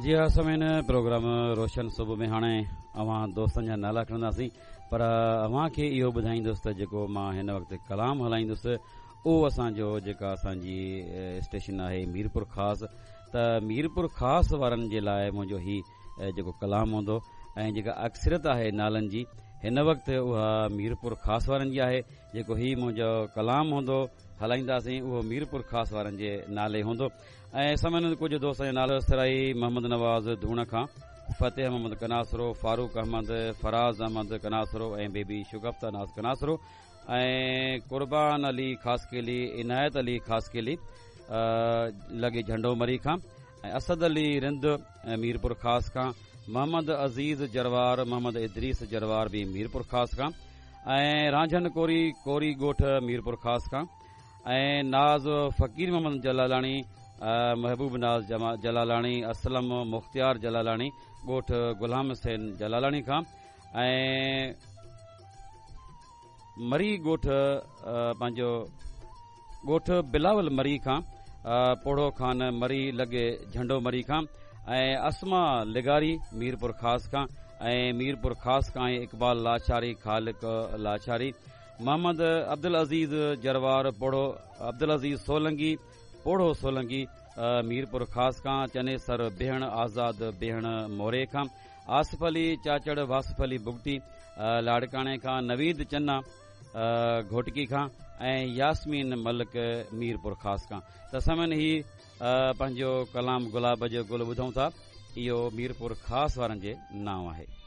جي ها سامعين پروگرام روشن صبح ۾ هاڻي اوهان دوستن جا نالا کڻنداسين پر اوهان کي اهو ٻڌائيندس ته جيڪو مان هن وقت ڪلام هلائيندس اهو اسان جو جيڪا اسان جي اسٽيشن آهي ميرپور خاص ته ميرپور خاص وارن جي لاء منهنجو هي جيڪو ڪلام هوندو ۽ جيڪا اڪثريت آهي نالن جي هن وقت اها ميرپور خاص وارن جي آهي جيڪو هي منهنجو ڪلام هوندو هلائينداسين اهو ميرپور خاص وارن جي نالي هوندو ۽ سامعين ڪجهه دوستن جا نالا سرائي محمد نواز ڌوڻ کان فتح محمد ڪناسرو فاروق احمد فراز احمد ڪناسرو ۽ بيبي شگفته ناز ڪناسرو ۽ قربان علي خاصخيلي عنايت علي خاصخيلي لڳي جهنڊو مري کان ۽ اسد علي رند ميرپور خاص کان محمد عزيز جروار محمد ادريس جروار به ميرپور خاص کان ۽ رانجهن ڪوري ڪوري ڳوٺ ميرپور خاص کان ۽ ناز فقير محمد جلالاڻي محبوب ناز جلالاڻي اسلم مختيار جلالاڻي ڳوٺ غلام حسين جلالاڻي کان ۽ مري ڳوٺ پنهنجو ڳوٺ بلاول مري کان پوڙهو خان مري لڳي جهنڊو مري کان ۽ اسما لغاري ميرپور خاص کان ۽ ميرپور خاص کان اقبال لاشاري خالق لاشاري محمد عبدالعزيز جروار پوڙهو عبدالعزيز سولنگي پوڙهو سولنگي ميرپور خاص کان چنيسر بيهڻ آزاد بيهڻ موري کان آصف علي چاچڙ واصف علي بگٽي لاڙڪاڻي کان نويد چنا گهوٽڪي کان ۽ ياسمين ملڪ ميرپور خاص کان ته سامعين هي پنهنجو ڪلام گلاب جو گل ٻڌون ٿا اهو ميرپور خاص وارن جي نانء آهي.